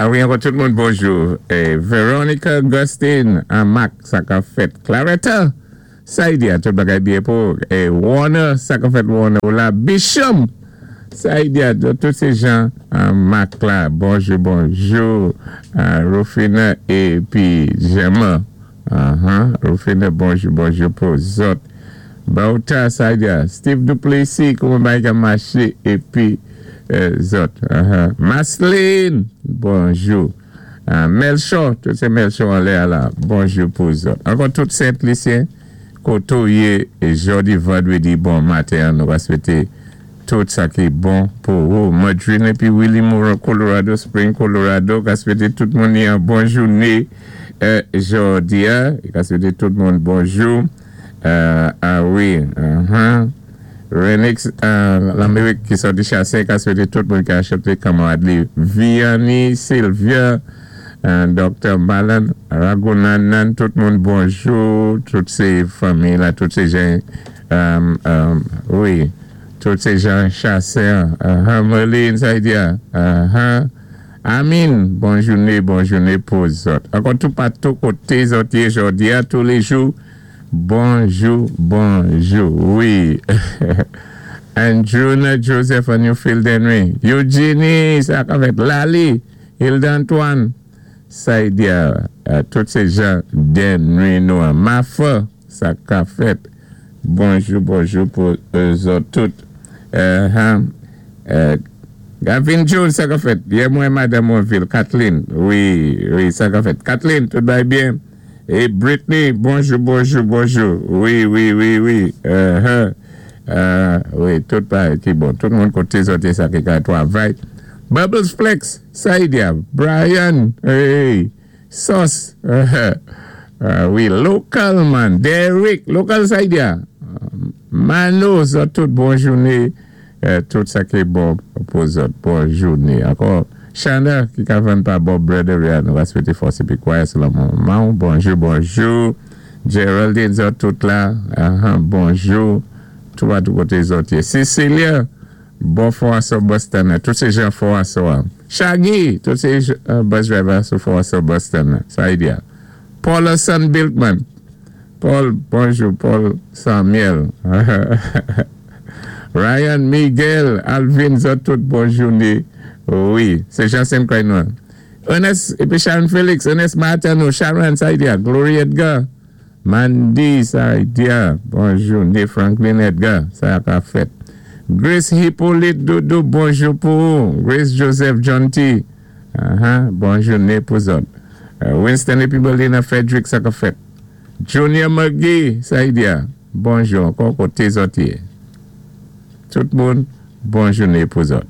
A wi, ankò tout moun bonjou. Veronica Augustine, Mac, sa ka fèt. Claretta, Saidia, tout bagay byen pou. Warner, sa ka fèt Warner ou la. Bishop, Saidia, tout sé jan Mac la. Bonjou, bonjou. Rufina épi Gemma. Rufina, bonjou, bonjou pou zòt. Bauta, Saidia, Steve Duplessis, kouman bagay ka maché épi zòt. Masline, bonjou. Melchor, tout sé Melchor anlè a la, bonjou pou zòt. Ankò tout Sent Lisyen, koto yé jòdi vandrédi bon maten, nou va swété tout sa ki bon pou ou. Madrine épi Willie Moore, Colorado Spring, Colorado, ka swété tout moun yon bon jouné jòdi a, ka swété tout moun bonjou. A wi. Renix, Lamérik ki sòti Chassin, ka swété tout moun ki acheté kanmarad li. Vianney, Sylvia, Dr. Malan, Ragunanan, tout moun bonjou, tout sé fanmi la, tout sé jan, wi, tout sé jan Chassin, Merlin, sa y di, Amin, bon jouné, bon jouné pou zòt. Ankò tout patou koté zòt yé jòdi a, tous les jours, bonjou, bonjou, wi. Andrew Joseph on Newfield Henry, Eugenie, sa ka fèt, Lali, Hilda Antoine, Saidia, tout sé jan Denry nou an. Mafa, sa ka fèt. Bonjou, bonjou pou zòt tout. Gavin Jones, sa ka fèt. Yè mwen Madame Monville, Kathleen, wi, sa ka fèt. Kathleen, tout bay byen. E Britney, bonjou, bonjou, bonjou. Wi. Wi, tout bagay ki bon. Tout moun koté zòt sa ki ka twavay. Bubbles Flex, Saidia, Brian, hey, Sauce, wi, local man, Derrick, local Saidia, Mano, zòt tout bon jouné, tout sa ki bon pou zòt, bon jouné. Ankò, Chana, ki ka vann pa Bob Brother, nou va swété fòs épi kwayans sou manman. Bonjou, bonjou. Geraldine, zòt tout la, bonjou. Tout patou koté zòt yé. Cecilia, bon fò Boston, tout sé jan fò asò. Shaggy, tout sé bus driver sou fò asò Boston, sa y di. Paul Son Bilkman, Paul, bonjou, Paul Samuel. Ryan, Miguel, Alvin, zòt tout bon jouné. Wi, sé Jansen Croix. Ernest, épi Sharon Félix, Ernest Martino, Sharon, sa y di, Glory Edgar, Mandy, sa y di, bon jouné, Franklin Edgar, sa ka fèt. Grace Hippolyte Doudou, bonjou pou ou. Grace Joseph John T. Bon jouné pou zòt. Winston épi Berlina Frederick, sa ka fèt. Junior McGee, sa y di, bonjou ankò koté zòt yé. Tout moun, bon jouné pou zòt.